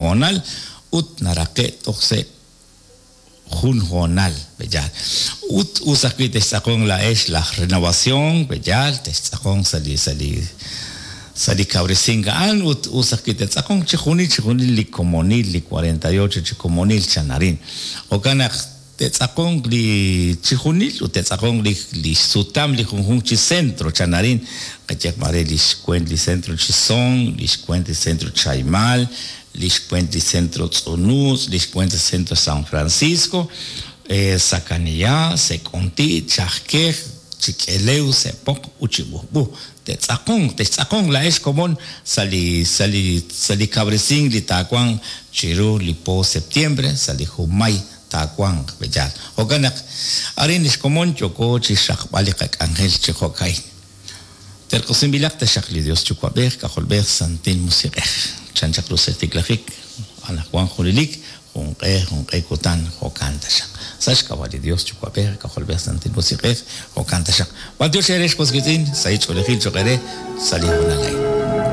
hoonal ut naraqe' toj se' jun hoonal, pe'yaal? Ut us ajwi' textz'aqonq laa'ex laj Renovación, pe'yaal? Textz'aqonq sa' li sa' li sa' li kawresink a'an ut us ajwi' te'tz'aqonq chijunil chijunil li komonil, li 48 chi komonil chan arin. Jo'kan naq te'tz'aqonq li chijunil ut te'tz'aqonq li li xsutam li junjunq chi centro chan arin, qayehaq maare li xweent li centro Chisón, li xweent li centro Chaimal, li xweent li centro Tz'unutz', li xweent li centro San Francisco, Sacaniyá, Sek'onti', Chajkej, Chik'elew, Se'poq ut Chib'ujb'u. Te'tz'aqonq, textz'aqonq laa'ex komon sa' li sa' li sa' li kawresink li taawanq chiru li po septiembre sa' li junmay taawanq, pe'yaal? Jo'kan naq arin li xkomon yooko chi xraqb'al li qak'anjel chi jo'ka'in. Terq'usinb'ilaq taxaq li Dios Yuwa'b'ej, K'ajolb'ej, Santil Musiq'ej. Chan chaq ru sa' xtiklajik, anaqwan junelik, junq'e junq'e kutan, jo'kan taxaq. Sa' xk'ab'a' li Dios Yuwa'b'ej, K'ajolb'ej, Santil Musiq'ej, jo'kan taxaq. B'antiox eere ex was wiitz'in, sahil ch'oolejil choq' eere sa' li hoonal a'in.